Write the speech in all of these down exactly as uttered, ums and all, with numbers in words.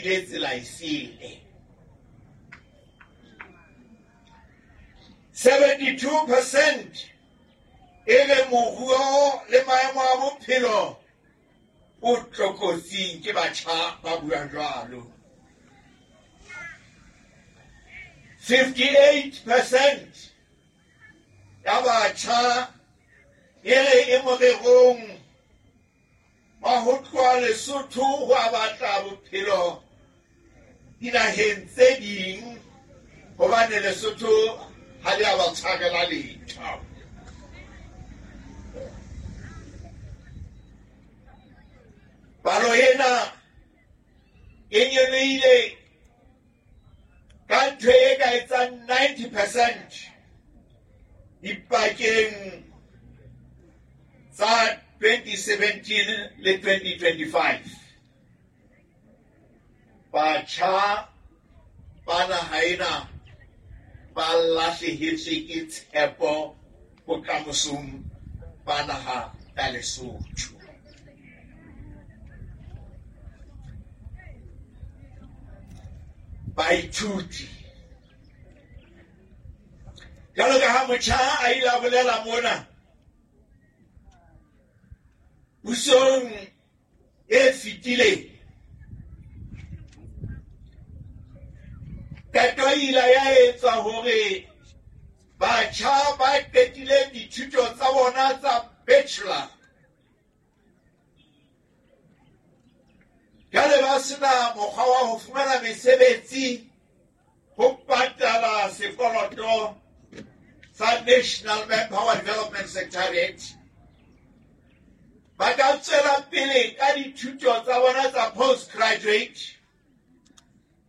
nkile tsela esele. seventy-two percent e re moruo le maemo a bophelo o tlokotsing, ke batjha ba buang jwalo. fifty-eight percent ya batjha e re e morerong wa ho tloha Lesotho ho a batla bophelo dinaheng tse ding, hobane Lesotho ha le a ba tshwarela letho. Palo ena e nyolohile ka ntho e ka etsang ninety percent dipakeng tsa twenty seventeen le twenty twenty-five. Batjha ba naha ena ba lahlehetswe ke tshepo bokamosong ba naha ya Lesotho. Baithuti, jwalo ka ha motjha a ile a bolela mona, pusong e fetileng qeto e ile ya etswa hore batjha ba qetileng dithuto tsa bona tsa bachelor jwale ba sena mokgwa wa ho fumana mesebetsi ho patala sekoloto sa National Manpower Development Secretariat, ba ka tswela pele ka dithuto tsa bona tsa postgraduate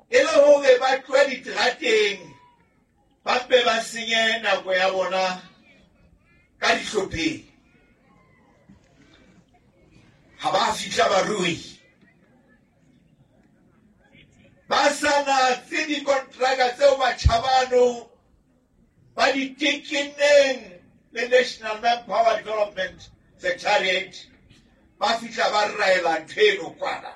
e le hore ba tlohe diterateng ba mpe ba senye nako ya bona ka dihlopheng. Ha ba fihla barui ba sa natse dikontraka tseo batjha bano ba di tekenneng le National Manpower Development Secretariat, ba fihla ba raela ntho eno kwana,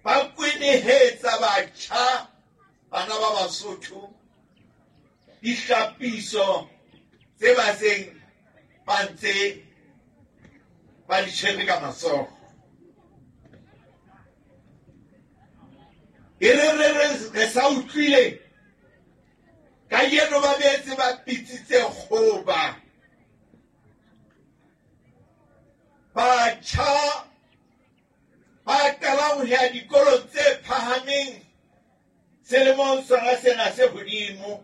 ba kwenehetsa batjha bana ba Basotho dihlapiso tse ba seng ba ntse ba di tshwere ka matsoho. E re re re re sa utlwile kajeno ba boetse ba bitsitse kgoba. Batjha ba qalang ho ya dikolong tse phahameng selemong sona sena se hodimo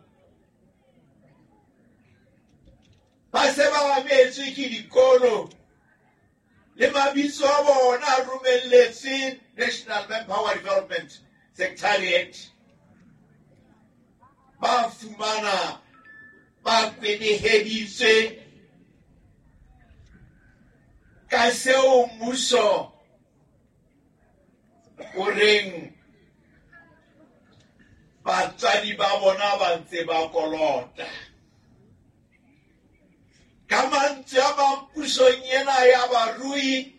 ba se ba abetswe ke dikolo le mabitso a bona a romelletswe National Manpower Development Secretariat, ba fumana ba kweneheditswe ka seo mmuso o reng batswadi ba bona ba ntse ba kolota. Ka mantswe a mang, pusong ena ya barui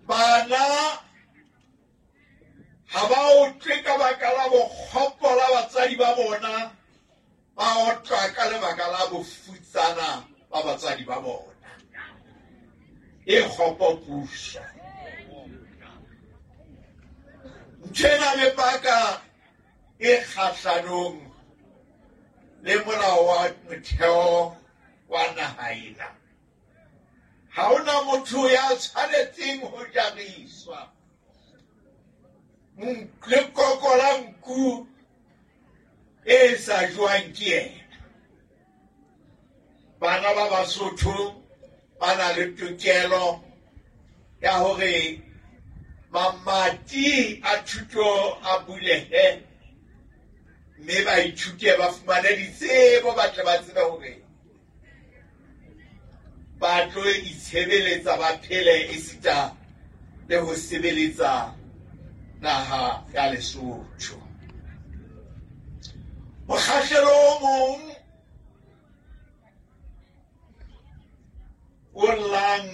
bana ha ba otlwe ka baka la bokgopo la batswadi ba bona, ba otlwa ka lebaka la bofutsana ba batswadi ba bona. E kgopo puso. Ntho ena mepaka e kgahlanong le molao wa motheo wa naha ena. Ha hona motho ya tshwanetseng ho jariswa lekoko la nku e sa jwang ke yena. Bana ba Basotho ba na le tokelo ya hore mamati a thuto a bulehe mme ba ithute ba fumane ditsebo, ba tle ba tsebe hore ba tlo itshebeletsa, ba phele esita le ho sebeletsa naha ya Lesotho. Mokgahlelo o mong o llang